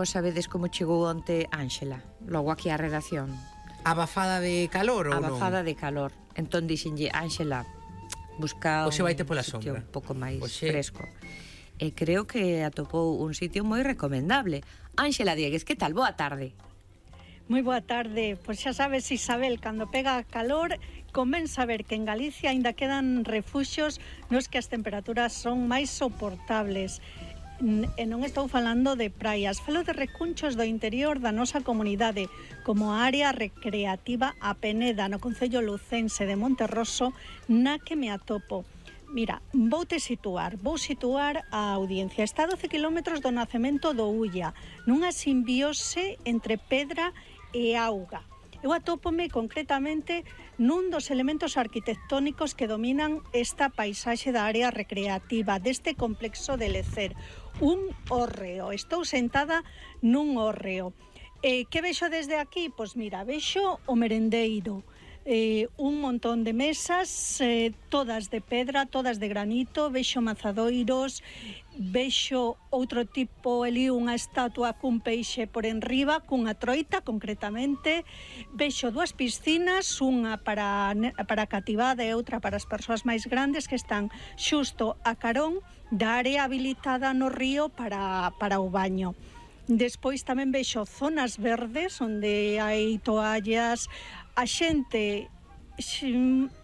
vos sabedes como chegou onte Ángela, logo aquí á redacción. Abafada de calor ou non? Abafada de calor. Entón dixenlle, Ángela, busca Oxe vaite pola sitio sombra. un pouco máis Oxe. fresco. E creo que atopou un sitio moi recomendable. Ángela Diegues, que tal? Boa tarde. Moi boa tarde. Pois xa sabes, Isabel, cando pega calor, convén saber que en Galicia aínda quedan refuxios nos que as temperaturas son máis soportables. E non estou falando de praias, falo de recunchos do interior da nosa comunidade, como a área recreativa A Peneda, no concello lucense de Monterroso, na que me atopo. Mira, vou situar a audiencia. Está a 12 km do nacemento do Ulla, nunha simbiose entre pedra e auga. Eu atópome concretamente nun dos elementos arquitectónicos que dominan esta paisaxe da área recreativa deste complexo de Lecer, un hórreo. Estou sentada nun hórreo. Que vexo desde aquí? Pois mira, vexo o merendeiro, un montón de mesas, todas de pedra, todas de granito, vexo mazadoiros, vexo outro tipo, ali unha estatua cun peixe por enriba, cunha troita concretamente, vexo dúas piscinas, unha para cativada e outra para as persoas máis grandes, que están xusto a carón da área habilitada no río para o baño. Despois tamén vexo zonas verdes onde hai toallas. A xente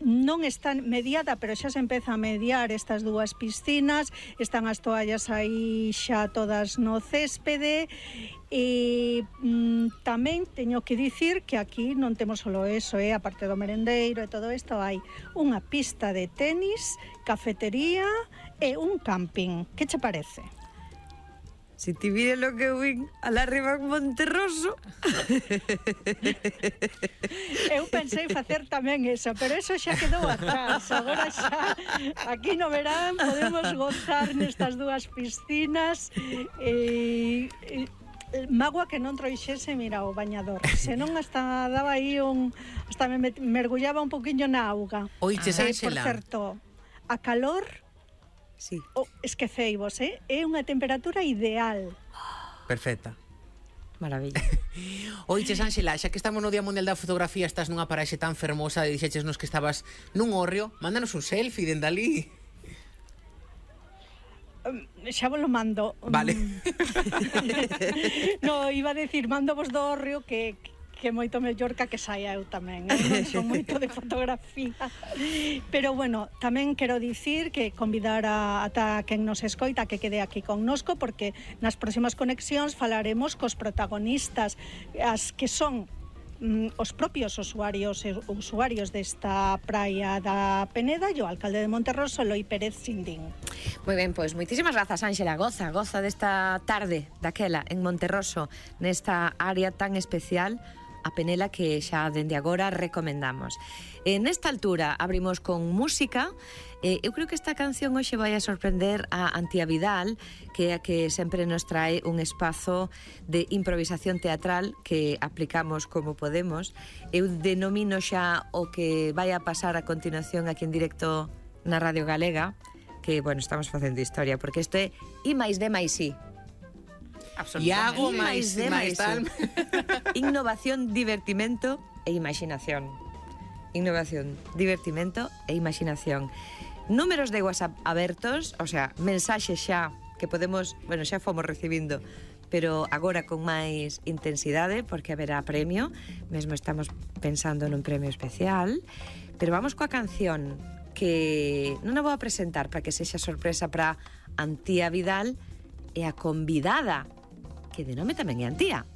non está mediada, pero xa se empeza a mediar estas dúas piscinas, están as toallas aí xa todas no céspede. E tamén teño que dicir que aquí non temos solo eso, a parte do merendeiro e todo isto, hai unha pista de tenis, cafetería e un camping. Que che parece? Si ti vire lo que vin alá arriba en Monterroso. Eu pensei facer tamén eso, pero eso xa quedou atrás. Agora xa, aquí no verán, podemos gozar nestas dúas piscinas. Magua que non trouxese, mira, o bañador. Senón hasta daba aí hasta me mergullaba un poquinho na auga. Oiches, Ángela. Por certo, a calor... Sí. Esqueceivos, é unha temperatura ideal. Perfecta. Maravilla. Oiches, Ángela, xa que estamos no Día Mundial da Fotografía, estás nunha paraxe tan fermosa e dixeches nos que estabas nun hórreo, mándanos un selfie dende ali. Xa vos lo mando. Vale. No, iba a decir, mando vos do hórreo que moito mellor que saia eu tamén. Eu non son moito de fotografía. Pero bueno, tamén quero dicir que convidar a quen nos escoita que quede aquí connosco, porque nas próximas conexións falaremos cos protagonistas, as que son os propios usuarios desta praia da Peneda e o alcalde de Monterroso, Eloi Pérez Sindín. Moi ben, pois moitísimas grazas, Ángela. Goza desta tarde daquela en Monterroso, nesta área tan especial, a Penela, que xa dende agora recomendamos. Nesta altura abrimos con música. Eu creo que esta canción hoxe vai a sorprender a Antía Vidal, que é a que sempre nos trae un espazo de improvisación teatral que aplicamos como podemos. Eu denomino xa o que vai a pasar a continuación aquí en directo na Radio Galega, que, bueno, estamos facendo historia, porque isto é I máis D máis I. Iago máis tal. Innovación, divertimento e imaginación. Innovación, divertimento e imaginación. Números de WhatsApp abertos, o sea, mensaxes xa que podemos, bueno, xa fomos recibindo, pero agora con máis intensidade, porque haberá premio. Mesmo estamos pensando nun premio especial. Pero vamos coa canción que non a vou a presentar para que sexa sorpresa para Antía Vidal e a convidada, que de nome tamén é Antía.